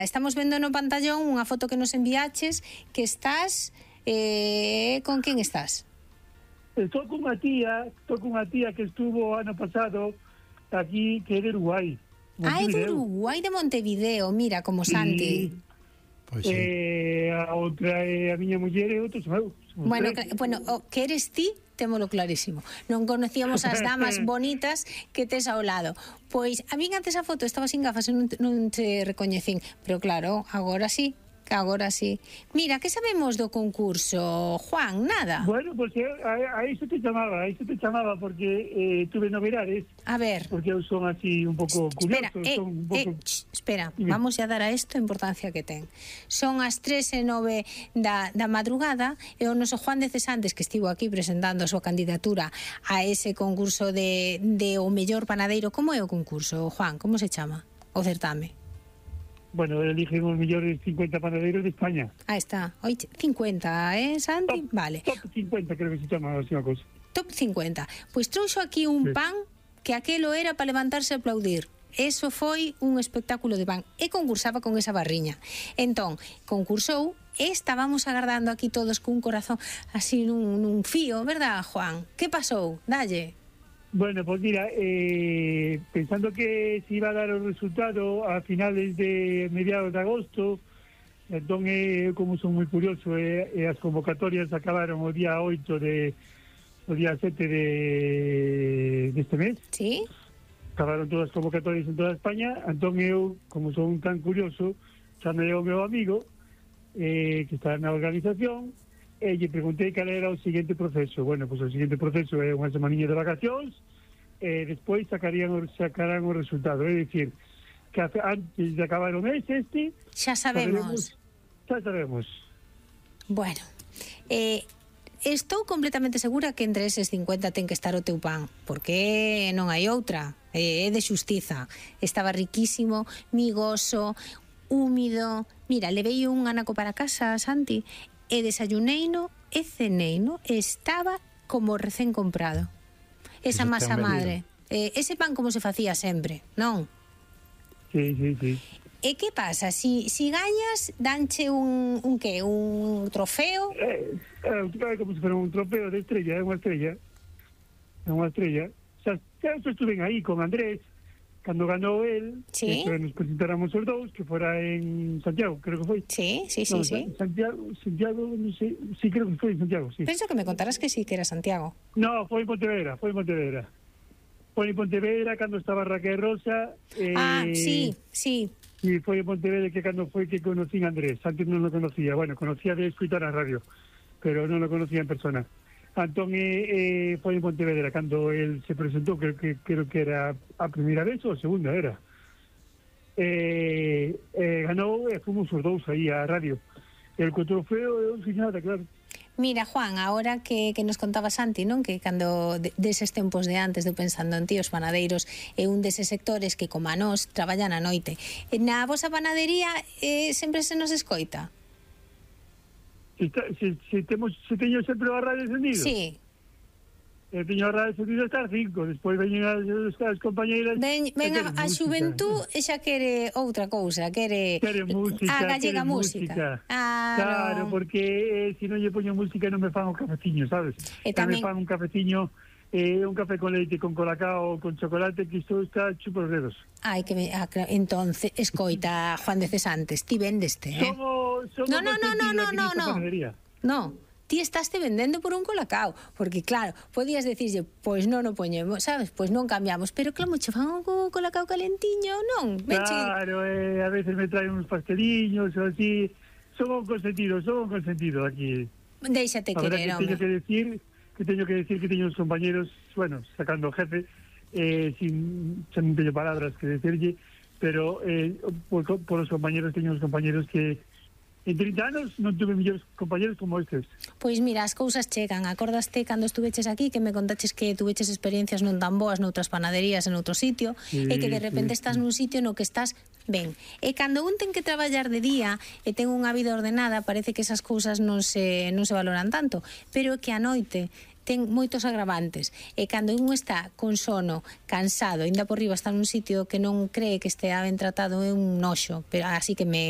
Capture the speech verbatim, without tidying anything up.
Estamos vendo no pantallón unha foto que nos enviaches que estás... Eh, con quen estás? Estou con unha tía, estou con unha tía que estuvo ano pasado aquí, que é de Uruguai. Ah, é de Uruguai, de Montevideo, mira, como Santi. Pois sí. Eh, a outra é a miña muller e outros meu. Bueno, que, bueno, o que eres ti, témolo clarísimo. Non conocíamos as damas bonitas que tes ao lado. Pois, a min antes a foto estaba sin gafas e non, non te recoñecín. Pero claro, agora sí. Agora sí. Mira, que sabemos do concurso, Juan? Nada. Bueno, pues a, a iso te chamaba, a iso te chamaba porque eh, tuve novedades. A ver. Porque eu son así un pouco curioso. Espera, eh, son un pouco... eh, ch, espera, Dime. Vamos a dar a isto a importancia que ten. Son as tres e nove da, da madrugada e o noso Juan de Cesantes, que estivo aquí presentando a súa candidatura a ese concurso de, de o mellor panadeiro. Como é o concurso, Juan? Como se chama? O certame? Bueno, eligen os mellores cincuenta panadeiros de España. Ah, está. Oye, cincuenta, eh, Santi? Top, vale. Top cincuenta, creo que se chama así unha cosa. Top cincuenta. Pois trouxo aquí un sí. pan que aquelo era para levantarse a aplaudir. Eso foi un espectáculo de pan. E concursaba con esa barriña. Entón, concursou e estábamos agardando aquí todos cun corazón así nun, nun fío, verdad, Juan? Que pasou? Dalle. Bueno, pues mira, eh, pensando que se iba a dar o resultado a finales de mediados de agosto, entón, eh, como son moi curioso, eh, eh, as convocatorias acabaron o día oito de o día sete de deste mes. Sí. Acabaron todas as convocatorias en toda España, entón eu, como son tan curioso, chamei ao meu amigo, eh, que está na organización, e lle preguntei cal era o seguinte proceso. Bueno, pois pues, o seguinte proceso é unha semaninha de vacacións e despois sacarían, sacarán o resultado. É dicir, que antes de acabar o mes este... Xa sabemos. Xa sabemos. Bueno, eh, estou completamente segura que entre eses cincuenta ten que estar o teu pan, porque non hai outra. É de xustiza. Estaba riquísimo, migoso, húmido. Mira, levei un anaco para casa, Santi, e desayuneino e ceneino, estaba como recén comprado. Esa masa madre, eh, ese pan como se facía sempre, non? Sí, sí, sí. E que pasa? Si, si gañas, danche un, un que? Un trofeo? Eh, eh, como se fuera un trofeo de estrella, é unha estrella. É unha estrella. Xa, xa estuve aí con Andrés, cando ganou el, sí. que nos presentáramos os dous, que fora en Santiago, creo que foi. Sí, sí, sí, no, sí. Santiago, Santiago, non sei, sí, creo que foi en Santiago, sí. Penso que me contarás que sí, que era Santiago. No, foi en Pontevedra, foi en Pontevedra. Foi en Pontevedra cando estaba Raquel Rosa. Eh, ah, sí, sí. E foi en Pontevedra que cando foi que conocín a Andrés, antes non lo conocía, bueno, conocía de escutar a radio, pero non lo conocía en persona. Antón eh, eh, foi en Pontevedra cando el se presentou, creo que creo que era a primeira vez ou a segunda era. Eh, eh, ganou e fomos os dous aí á radio. El co trofeo é un señada, claro. Mira, Juan, ahora que, que nos contaba Santi, non? Que cando de, deses tempos de antes de pensando en ti, os panadeiros é un deses sectores que, como a nós, traballan a noite. Na vosa panadería eh, sempre se nos escoita? Se, se, se, temos, se teño sempre a radio encendido? Sí. E teño a radio encendido hasta as cinco, despois veñen as, as compañeiras... Ven, ven a, a xuventud e xa quere outra cousa, quere... Quere música, a gallega música. música. Ah, claro, no. porque eh, se non lle poño música non me fan o cafeciño, sabes? E tamén... me fan un cafeciño, eh, un café con leite, con colacao, con chocolate, que isto está chupo os dedos. Ai, que me... Ah, entonces, escoita, Juan de Cesantes, ti vendeste, eh? Somos, somos no, no, no, no, no, no, no. No, ti estaste vendendo por un colacao, porque claro, podías decirlle, pois non o poñemos, sabes, pois non cambiamos, pero claro, che fan un colacao calentiño, non? Claro, eh, a veces me traen uns pasteliños ou así, son un consentido, son un consentido aquí. Déixate querer, home. Teño que decir, que teño que decir que teño uns compañeros, bueno, sacando o jefe, eh, sin, sin teño palabras que decirlle, pero eh, por, por os compañeros teño uns compañeros que en trinta anos non tuve millores compañeros como estes. Pois mira, as cousas chegan. Acordaste cando estuveches aquí que me contaches que tuveches experiencias non tan boas noutras panaderías en outro sitio, sí, e que de repente sí, estás sí. nun sitio no que estás ben. E cando un ten que traballar de día e ten unha vida ordenada, parece que esas cousas non se non se valoran tanto, pero que a noite ten moitos agravantes, e cando un está con sono, cansado, ainda por riba está nun sitio que non cree que estea ben tratado, é un noxo, pero así que me